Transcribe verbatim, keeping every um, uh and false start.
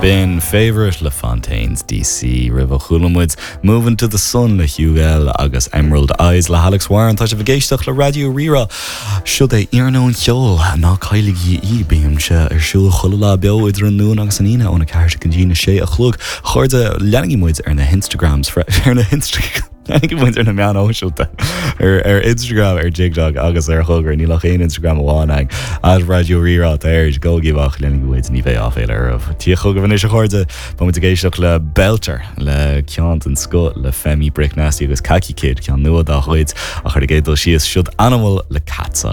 B'in Favourite le Fontaines DC roimhe chuala muid Moving to the Sun le Hugh L agus Emerald Eyes le Alex Warren tá sibh ag éisteacht le Raidió Rí-Rá. Seo é Iarnóin Cheoil ná cailligí í bíonn sé ar siúl chuile lá beo idir an Luan agus an Aoine óna ceathair go dtí a sé a chlog chairde leanaigí muid ar na Instagrams ar na Instagram. Leanaigí muid ar na meáin shóisialta ar ar Instagram ar TikTok agus ar chogar níl ach aon Instagram amháin ag at Raidió Rí-Rá air gabhaigí amach leanaigí muid ní bheidh áiféala oraibh. Tí chugaibh anois a chairde Tá muid ag éisteacht le Belter le ceann den scoth le Femi Brick Nasty agus Kaki Kid ceann nua dá chuid ach ar an gcéad dul síos siod Animal le Catsa.